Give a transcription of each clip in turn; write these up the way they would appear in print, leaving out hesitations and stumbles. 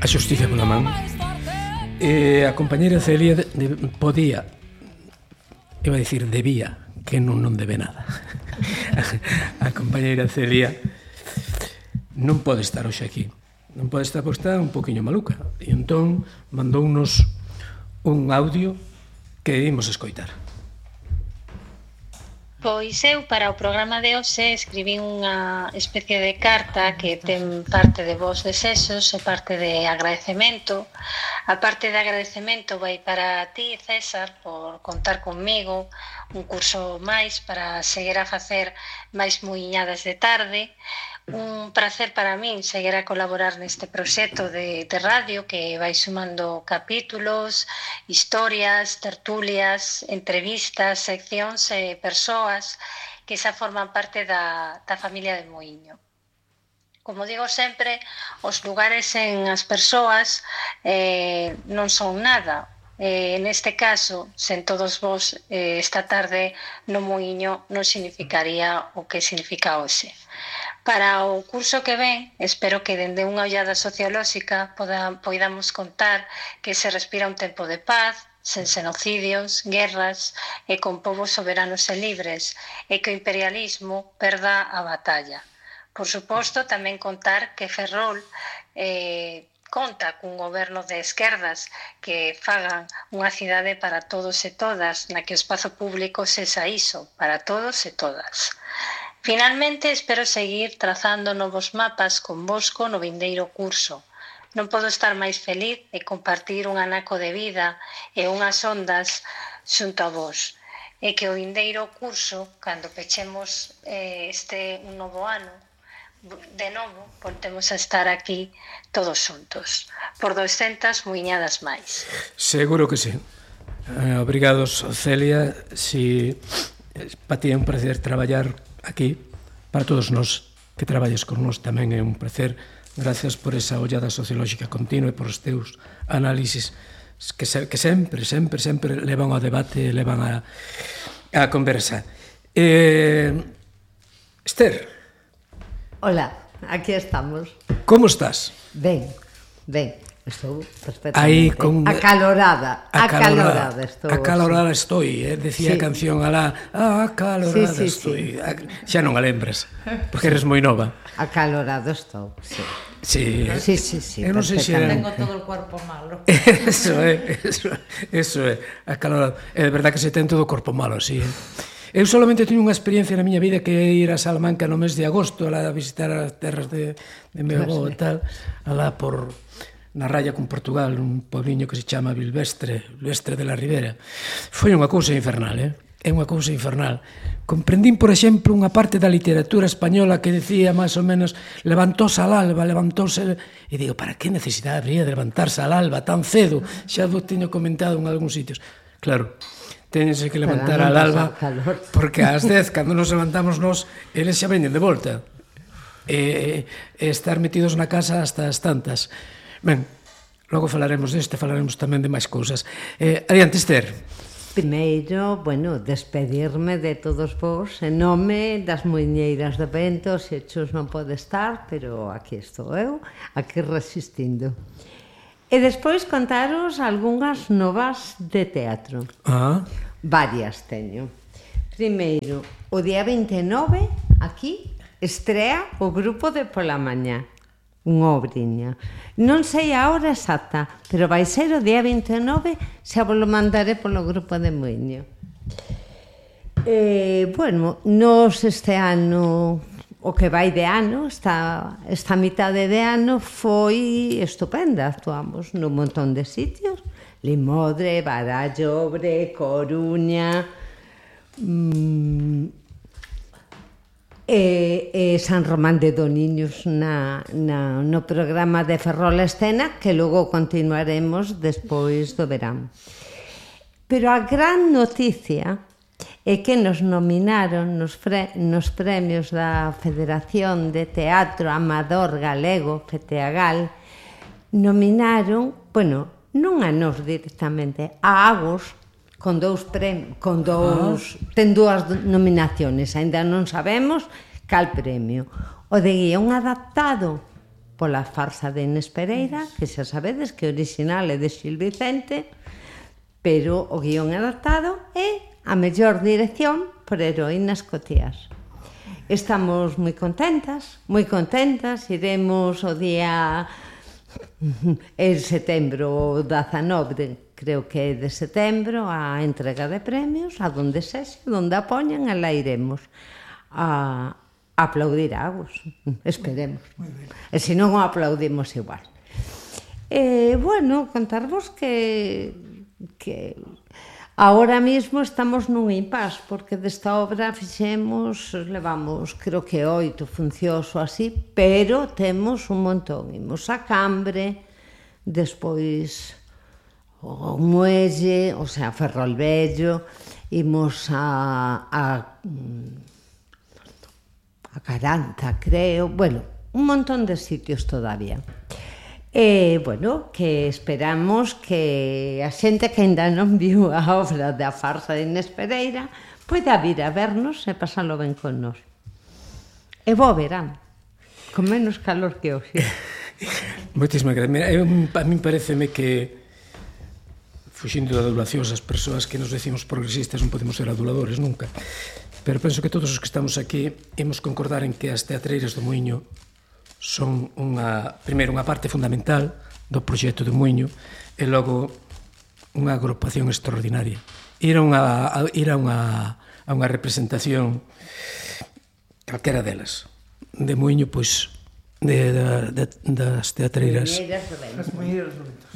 a xustiza pola man. A compañeira Celia podía, iba a dicir debía, que non debe nada. A compañeira Celia non pode estar hoxe aquí, non pode estar porque está un poquinho maluca, e entón mandounos un audio que imos escoitar. Pois eu para o programa de hoxe escribín unha especie de carta que ten parte de vos desexos e parte de agradecemento. A parte de agradecemento vai para ti, César, por contar conmigo un curso máis para seguir a facer máis muiñadas de tarde. Un placer para min seguir a colaborar neste proxecto de radio que vai sumando capítulos, historias, tertulias, entrevistas, seccións e persoas que xa forman parte da familia de Muiño. Como digo sempre, os lugares en as persoas non son nada. Neste caso, sen todos vos esta tarde no Muiño non significaría o que significa hoxe. Para o curso que ven, espero que dende unha ollada sociolóxica poidamos contar que se respira un tempo de paz, sen xenocidios, guerras e con povos soberanos e libres, e que o imperialismo perda a batalla. Por suposto, tamén contar que Ferrol conta cun goberno de esquerdas que fagan unha cidade para todos e todas, na que o espazo público sexa iso, para todos e todas. Finalmente, espero seguir trazando novos mapas convosco no vindeiro curso. Non podo estar máis feliz de compartir un anaco de vida e unhas ondas xunto a vos. E que o vindeiro curso, cando pechemos este un novo ano, de novo, voltemos a estar aquí todos xuntos, por 200 muiñadas máis. Seguro que sí. Obrigados, Celia. Para ti é un placer traballar aquí. Para todos nós que traballes con nós tamén é un placer. Gracias por esa ollada sociolóxica continua e por os teus análisis que sempre levan ao debate e levan a conversa. Esther. Hola, aquí estamos. Como estás? Ben, estou perfectamente. Aí Acalorada estou, decía a canción alá, acalorada estou. Xa non a lembras, porque eres moi nova. Acalorado estou, sí. Sí. Eu non sei se tengo todo o corpo malo. Eso é, acalorado. É de verdad que se ten todo o corpo malo, así, Eu solamente teño unha experiencia na miña vida que é ir a Salamanca no mes de agosto a visitar as terras de meu avó e tal, alá na raya con Portugal, un pobliño que se chama Bilvestre de la Ribera. Foi unha cousa infernal, é unha cousa infernal. Comprendín, por exemplo, unha parte da literatura española que decía máis ou menos levantouse al alba, e digo, para que necesidade habría de levantarse al alba tan cedo? Xa vos teño comentado en algúns sitios. Claro, teñense que levantar al alba porque ás 10, cando nos levantamos nós, eles xa veñen de volta e estar metidos na casa hasta as tantas. Ben, logo falaremos deste, falaremos tamén de máis cousas. Adiante, Esther. Primeiro, despedirme de todos vos en nome das muiñeiras de vento. Se Chus non pode estar, pero aquí estou eu, aquí resistindo. E despois contaros algunhas novas de teatro. Varias teño. Primeiro, o día 29, aquí, estrea o grupo de pola mañá, unha obriña. Non sei a hora exacta, pero vai ser o día 29, xa vos lo mandaré polo grupo de Muiño. Nos este ano, o que vai de ano, esta mitade de ano foi estupenda. Actuamos nun montón de sitios, Limodre, Barallobre, Coruña, San Román de Doniños no programa de Ferrol Escena, que logo continuaremos despois do verán. Pero a gran noticia é que nos nominaron nos premios da Federación de Teatro Amador Galego, FETEAGAL, nominaron, non a nos directamente, a Agos, ten dúas nominaciones, aínda non sabemos cal premio. O de guión adaptado pola farsa de Inés Pereira, que xa sabedes que o original é de Xil Vicente, pero o guión adaptado é a mellor dirección por Heroínas Cotías. Estamos moi contentas, iremos o día en setembro 19, creo que é de setembro, a entrega de premios, a donde sexa, donde a poñan, a la iremos a aplaudir a Agus, esperemos. E se non o aplaudimos igual. Bueno, contarvos que agora mesmo estamos nun impás, porque desta obra levamos, creo que 8 funcións ou así, pero temos un montón. Imos a Cambre, despois o Muelle, o sea, Ferrolvello, imos a Caranta, creo, bueno, un montón de sitios todavía. Bueno, que esperamos que a xente que ainda non viu a obra da farsa de Inés Pereira poida vir a vernos e pasalo ben con nós. E bo verán, con menos calor que hoxe. Moitísimas gracias. Mira, a mí pareceme que, fuxindo da adulación, as persoas que nos decimos progresistas non podemos ser aduladores nunca, pero penso que todos os que estamos aquí imos concordar en que as teatreiras do Muiño son primeiro unha parte fundamental do proxecto do Muiño e logo unha agrupación extraordinaria. Ir a unha representación calquera delas de Muiño, pois das teatreiras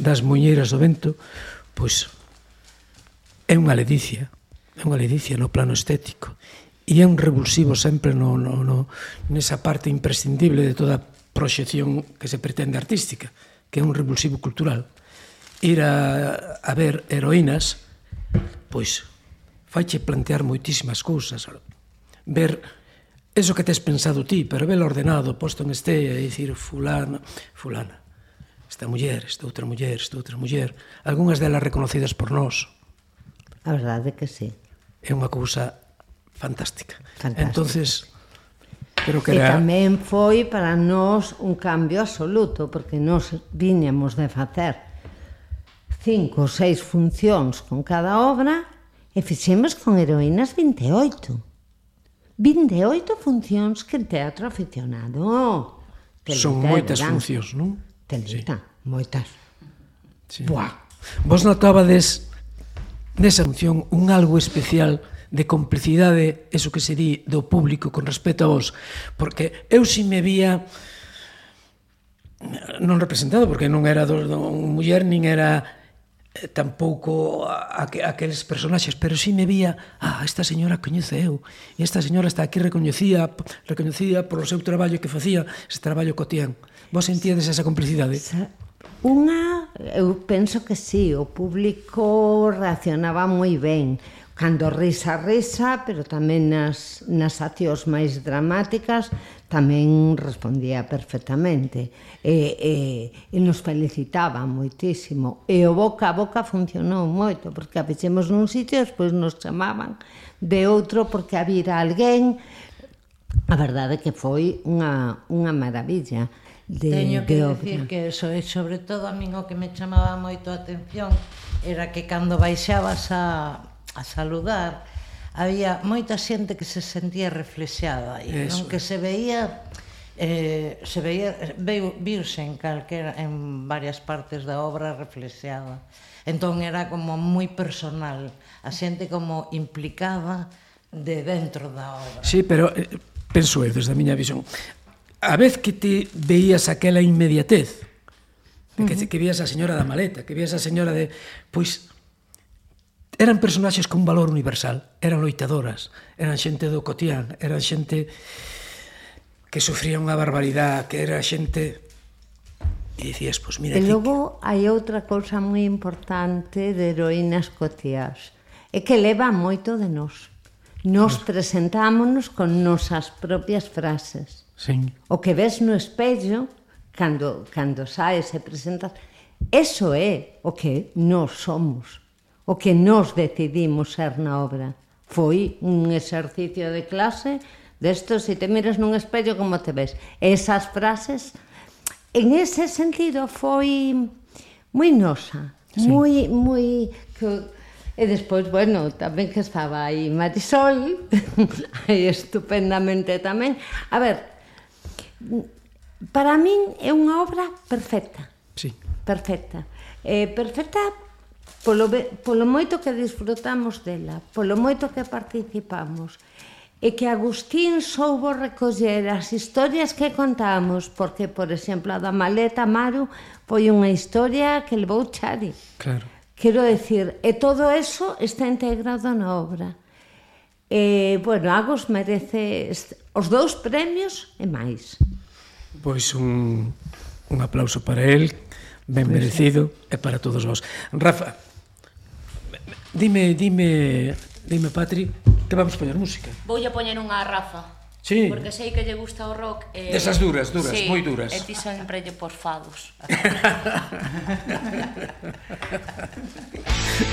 das Muiñeiras do Vento, pois é unha ledicia no plano estético e é un revulsivo sempre nesa parte imprescindible de toda proxección que se pretende artística, que é un revulsivo cultural. Ir a ver heroínas, pois faiche plantear moitísimas cousas, ver eso que tes pensado ti, pero velo ordenado, posto en estella, e dicir fulana, esta muller, esta outra muller, algunhas delas reconocidas por nós. A verdade que sí. É unha cousa fantástica. Entonces, creo que era... E tamén foi para nós un cambio absoluto, porque nós viñamos de facer 5 ou 6 funcións con cada obra e fixemos con Heroínas 28. 28 funcións que en teatro aficionado. Son moitas funcións, non? Telita, moitas. Buah! Vos notabades nesa función un algo especial de complicidade, eso que se di do público con respecto a vos, porque eu si me vía non representado, porque non era un muller, nin era tampouco aqueles personaxes, pero si me vía, esta señora coñece eu, e esta señora está aquí recoñecida por o seu traballo que facía, ese traballo cotián. Vos sentíades esa complicidade? Eu penso que sí, o público reaccionaba moi ben, cando risa, pero tamén nas accións máis dramáticas tamén respondía perfectamente e nos felicitaban moitísimo e o boca a boca funcionou moito, porque a fixemos nun sitio e despois nos chamaban de outro porque había alguén. A verdade que foi unha maravilla. Teño que decir que eso, e sobre todo a min o que me chamaba moito a atención era que cando baixabas a saludar había moita xente que se sentía reflexada e non que se veía viuse en varias partes da obra reflexada, entón era como moi personal, a xente como implicada de dentro da obra. Sí, pero penso eu, desde a miña visión, a vez que te veías aquela inmediatez, que vías a señora da maleta, que vías a señora de... Pois eran personaxes con un valor universal, eran loitadoras, eran xente do cotián, eran xente que sufría unha barbaridade, que era xente... E dicías, pois mira... E logo hai outra cousa moi importante de Heroínas Cotías, é que leva moito de nós. Nos presentámonos con nosas propias frases. Sí. O que ves no espello, cando saes e presentas, eso é o que nós somos, o que nós decidimos ser na obra. Foi un exercicio de clase destos, se te miras nun espello, como te ves. Esas frases en ese sentido foi moi nosa, moi... E despois, bueno, tamén que estaba aí Marisol, aí estupendamente tamén. A ver, para min é unha obra perfecta. Sí. Perfecta. Perfecta polo moito que disfrutamos dela, polo moito que participamos. E que Agustín soubo recoller as historias que contamos, porque, por exemplo, a da maleta Maru foi unha historia que levou Chari. Claro. Quero decir, e todo eso está integrado na obra. Bueno, Agos merece os 2 premios e máis. Pois un aplauso para él, ben merecido, e para todos vos. Rafa, dime, Patri, que vamos poñer música? Voulle poñer unha a Rafa. Sí. Porque sei que lle gusta o rock. Desas duras, sí, moi duras. E ti sempre lle por fados.